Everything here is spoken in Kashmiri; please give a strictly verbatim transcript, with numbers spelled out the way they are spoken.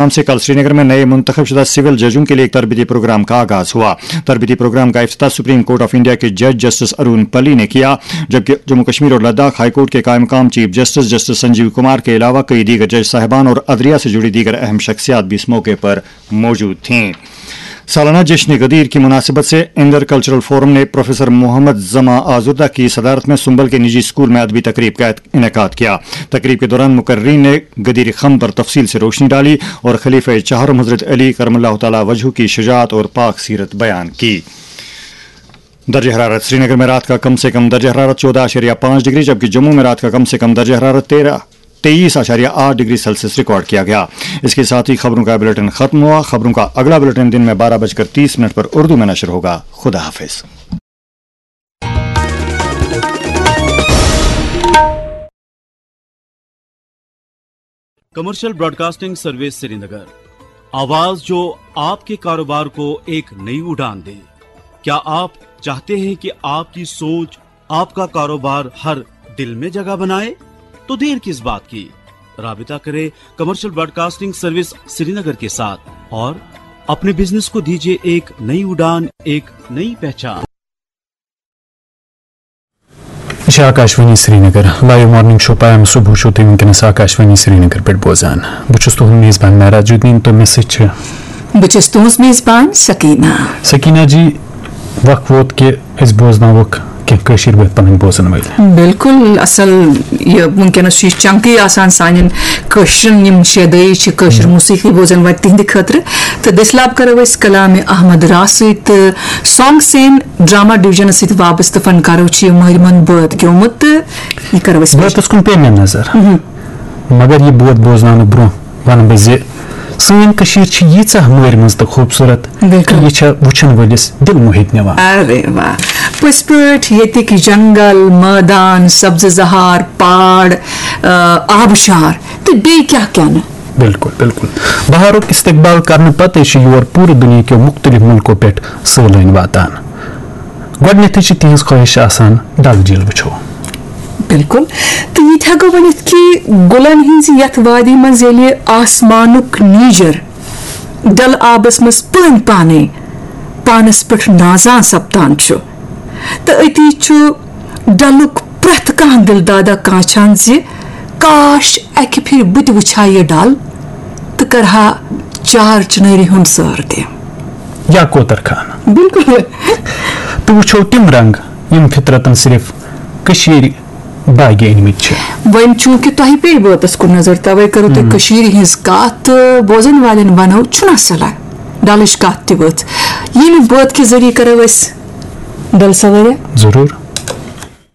نام سے کل سری نگر میں نئے منتخب شدہ سول ججوں کے لیے ایک تربیتی پروگرام کا آغاز ہوا۔ تربیتی پروگرام کا افتتاح سپریم کورٹ آف انڈیا کے جج جسٹس ارون پلی نے کیا، جبکہ جموں کشمیر اور لداخ ہائی کورٹ کے قائم مقام chief justice justice Sanjeev Kumar کے علاوہ کئی دیگر جج صاحبان اور عدلیہ سے جڑی دیگر اہم شخصیات بھی اس موقع پر موجود تھیں۔ سالانہ جشن غدیر کی مناسبت سے انڈر کلچرل فورم نے پروفیسر محمد زماں آزردہ کی صدارت میں سنبل کے نجی اسکول میں ادبی تقریب کا انعقاد کیا۔ تقریب کے دوران مقررین نے غدیر خم پر تفصیل سے روشنی ڈالی اور خلیفہ چہارم حضرت علی کرم اللہ تعالی وجہ کی شجاعت اور پاک سیرت بیان کی۔ درجہ حرارت: سری نگر میں رات کا کم سے کم درجہ حرارت چودہ اعشاریہ پانچ ڈگری، جبکہ جموں میں رات کا کم سے کم درجہ حرارت تیرہ تیئیس اعشاریہ آٹھ ڈگری سیلسیس ریکارڈ کیا گیا۔ اس کے ساتھ ہی خبروں کا بلٹن ختم ہوا۔ خبروں کا اگلا بلٹن دن میں بارہ بج کر تیس منٹ پر اردو میں نشر ہوگا۔ خدا حافظ۔ کمرشل براڈکاسٹنگ سروس سری نگر، آواز جو آپ کے کاروبار کو ایک نئی اڑان دے۔ کیا آپ چاہتے ہیں کہ آپ کی سوچ، آپ کا کاروبار ہر دل میں جگہ بنائے؟ تو دیر کس بات کی؟ رابطہ کرے کمرشل براڈکاسٹنگ سروس سری نگر کے ساتھ اور اپنے بزنس کو دیجیے ایک نئی اڑان، ایک نئی پہچان۔ یہِ چھِ Akashvani Srinagar. Live morning show پیام صبح چھُو تُہۍ وٕنکیٚنَس آکاشوانی سرینگر پٮ۪ٹھ بوزان۔ بہٕ چھُس تُہُنٛد میزبان معراج الدین تہٕ مےٚ سۭتۍ چھِ بہٕ چھَس تُہٕنٛز میزبان سکینہ۔ سکینہ جی، وق ووت کہِ أسۍ بوزناووکھ کینٛہہ کٲشِر بٲتھ پنٕنۍ بوزن وٲلۍ۔ بالکل، اصل۔ یہِ وٕنکیٚنَس چھُ یہِ چنکٕے آسان سانٮ۪ن کٲشرٮ۪ن، یِم شیدٲیی چھِ کٲشِر موسیقی بوزن وٲلۍ، تِہنٛدِ خٲطرٕ۔ تہٕ دٔسۍ لاب کرو أسۍ کلام احمد راز سۭتۍ تہٕ سانگ سین ڈرامہ ڈویژنس سۭتۍ وابستہٕ فنکارو چھِ یہِ مٲرۍ منٛد بٲتھ گیومُت تہٕ یہِ کرو أسۍ بٲتس کُن پیٚیہِ مےٚ نظر۔ مگر یہِ بٲتھ بوزناونہٕ برونٛہہ ونہٕ بہٕ زِ سٲنۍ کٔشیٖر چھِ ییٖژاہ مٲرۍ منٛز تہٕ خوٗبصوٗرت، بالکل۔ یہِ چھےٚ وٕچھن وٲلِس دِل موہِتھ نِوان۔ ارے واہ، پٔزۍ پٲٹھۍ ییٚتِکۍ جنگل، مٲدان، سبزٕ زہار، پہاڑ، آ، آبشار تہٕ بیٚیہِ کیٛاہ کیٛاہ نہٕ۔ بالکل، بالکل۔ بہارُک استقبال کرنہٕ پتہٕ چھِ یور پوٗرٕ دُنیا کیو مُختٔلِف مُلکو پٮ۪ٹھ سٲلٲنۍ واتان۔ گۄڈٕنیتھٕے چھِ تِہنٛز خٲہِش آسان ڈل جھیل وٕچھو۔ بالکل۔ تہٕ یہِ تہِ ہٮ۪کو ؤنِتھ کہِ گُلن ہٕنٛزِ یتھ وادی منٛز ییٚلہِ آسمانُک نیٖجر ڈل آبس منٛز پٲنۍ پانے پانس پٮ۪ٹھ نازان سپدان چھُ، تہٕ أتی چھُ ڈلُک پرٛٮ۪تھ کانٛہہ دِل دادا کانٛچھان زِ کاش اکہِ پھِرِ بہٕ تہِ وٕچھِ ہا یہِ ڈل تہٕ کرٕ ہا چار چنٲرِ ہُنٛد سٲر تہِ۔ یا کوتر خان۔ بالکل۔ تہٕ وٕچھو تِم رنگ یِم فطرتن صرف کٔشیٖرِ باگہِ أنۍ مٕتۍ چھِ۔ وۄنۍ چوٗنٛکہِ تۄہہِ پیٚیہِ بٲتس کُن نظر، توے کٔرٕو تُہۍ کٔشیٖرِ ہٕنٛز کتھ تہٕ بوزن والٮ۪ن ونو، چھُنہ صلاح ڈلٕچ کتھ تہِ ؤژھ۔ ییٚمہِ بٲتھ کہِ ذٔریعہٕ کرو أسۍ ڈل سوٲرۍ۔ ضروٗر۔